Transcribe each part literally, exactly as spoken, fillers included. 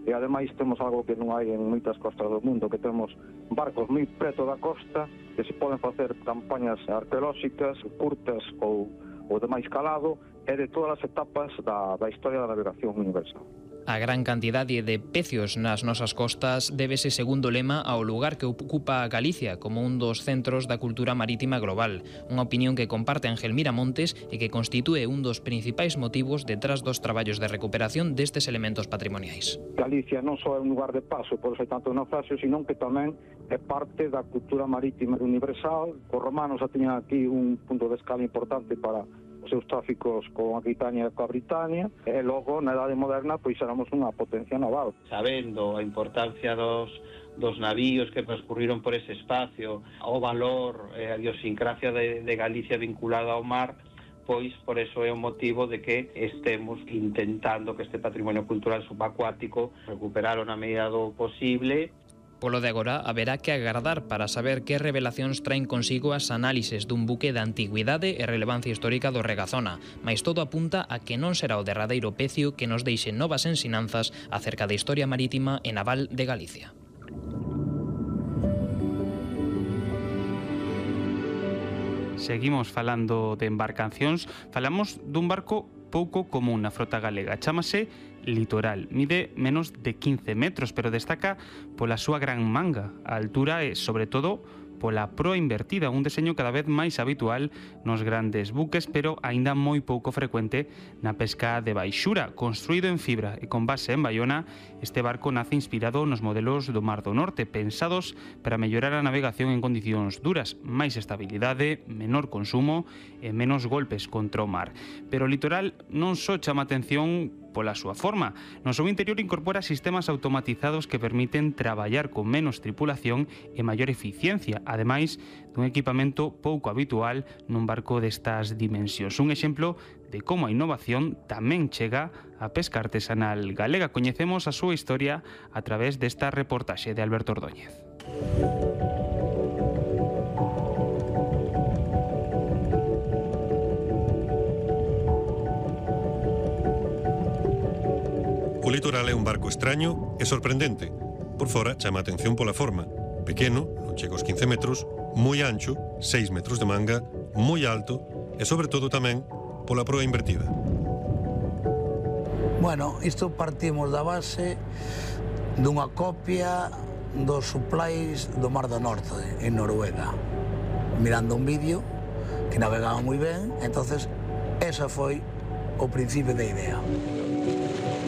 e ademais temos algo que non hai en moitas costas do mundo, que temos barcos moi preto da costa, que se poden facer campañas arqueolóxicas, curtas ou, ou de máis calado, e de todas as etapas da, da historia da navegación universal. A gran cantidade de pecios nas nosas costas débese, segundo lema, ao lugar que ocupa Galicia como un dos centros da cultura marítima global, unha opinión que comparte Ángel Miramontes e que constitúe un dos principais motivos detrás dos traballos de recuperación destes elementos patrimoniais. Galicia non só é un lugar de paso, por ser tanto naufraxio, sino que tamén é parte da cultura marítima universal. Os romanos xa tiñan aquí un punto de escala importante para os seus tráficos con Aquitania e coa Britania, e logo na Edade Moderna pois éramos unha potencia naval. Sabendo a importancia dos dos navíos que transcurriron por ese espacio, o valor e a idiosincrasia de, de Galicia vinculada ao mar, pois por eso é o motivo de que estemos intentando que este patrimonio cultural subacuático recuperalo na medida do posible. Polo de agora, haberá que agardar para saber que revelacións traen consigo as análises dun buque da antigüidade e relevancia histórica do Regazona, mais todo apunta a que non será o derradeiro pecio que nos deixe novas ensinanzas acerca da historia marítima e naval de Galicia. Seguimos falando de embarcacións, falamos dun barco pouco común na frota galega, chámase Litoral. Mide menos de quince metros, pero destaca pola súa gran manga, a altura e, sobre todo, pola proa invertida, un deseño cada vez máis habitual nos grandes buques, pero aínda moi pouco frecuente na pesca de baixura. Construído en fibra e con base en Baiona, este barco nace inspirado nos modelos do Mar do Norte, pensados para mellorar a navegación en condicións duras, máis estabilidade, menor consumo e menos golpes contra o mar. Pero o Litoral non só chama atención pola súa forma. No seu interior incorpora sistemas automatizados que permiten traballar con menos tripulación e maior eficiencia, ademais dun equipamento pouco habitual nun barco destas dimensións. Un exemplo de como a innovación tamén chega á pesca artesanal galega. Coñecemos a súa historia a través desta reportaxe de Alberto Ordóñez. O Litoral é un barco extraño e sorprendente. Por fora chama a atención pola forma. Pequeno, non chega aos quince metros, moi ancho, seis metros de manga, moi alto e, sobre todo, tamén pola proa invertida. Bueno, isto partimos da base dunha copia dos supplies do Mar do Norte, en Noruega. Mirando un vídeo que navegaba moi ben, entonces esa foi o principio da idea.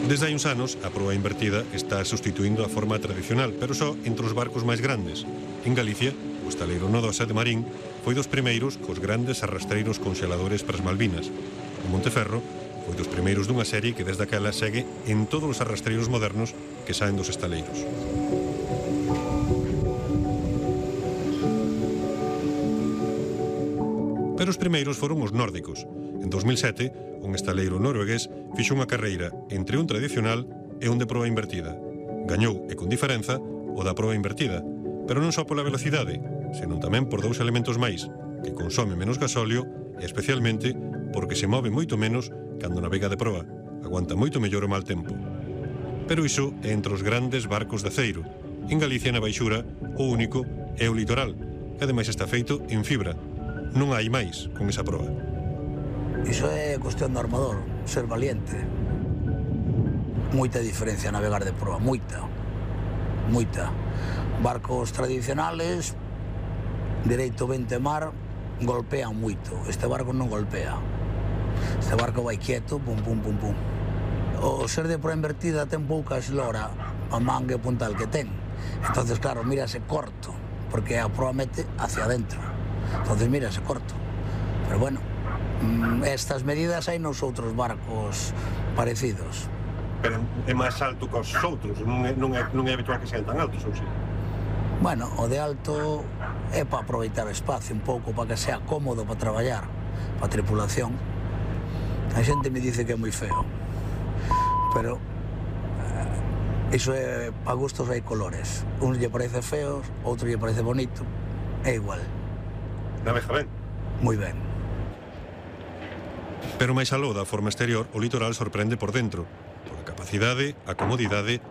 Desde hai uns anos, a proa invertida está sustituindo a forma tradicional, pero só entre os barcos máis grandes. En Galicia, o estaleiro Nodosa de Marín foi dos primeiros cos grandes arrastreiros conxeladores para as Malvinas. O Monteferro foi dos primeiros dunha serie que desde aquela segue en todos os arrastreiros modernos que saen dos estaleiros. Pero os primeiros foron os nórdicos. En dos mil sete, un estaleiro noruegués fixo unha carreira entre un tradicional e un de proa invertida. Gañou, e con diferenza, o da proa invertida, pero non só pola velocidade, senón tamén por dous elementos máis, que consome menos gasóleo e especialmente porque se move moito menos cando navega de proa, aguanta moito mellor o mal tempo. Pero iso é entre os grandes barcos de aceiro. En Galicia, na baixura, o único é o Litoral, que ademais está feito en fibra. Non hai máis con esa proa. Iso é cuestión do armador, ser valiente. Moita diferencia navegar de proa, moita, moita. Barcos tradicionales, dereito vente mar, golpean moito. Este barco non golpea. Este barco vai quieto, pum, pum, pum, pum. O ser de proa invertida ten pouca eslora, a manga e puntal que ten. Entonces, claro, mírase corto, porque a proa mete hacia adentro. Entonces, mírase corto. Pero bueno, estas medidas hai nos outros barcos parecidos. Pero é máis alto que os outros, non é, non é, non é habitual que sean tan altos, ou si? Bueno, o de alto é para aproveitar o espacio un pouco, para que sea cómodo para traballar, para a tripulación. A xente me dice que é moi feo, pero eh, iso é, para gustos hai colores. Un lle parece feo, outro lle parece bonito, é igual. Navega ben? Moi ben. Pero máis aló da forma exterior, o Litoral sorprende por dentro, pola capacidade, a comodidade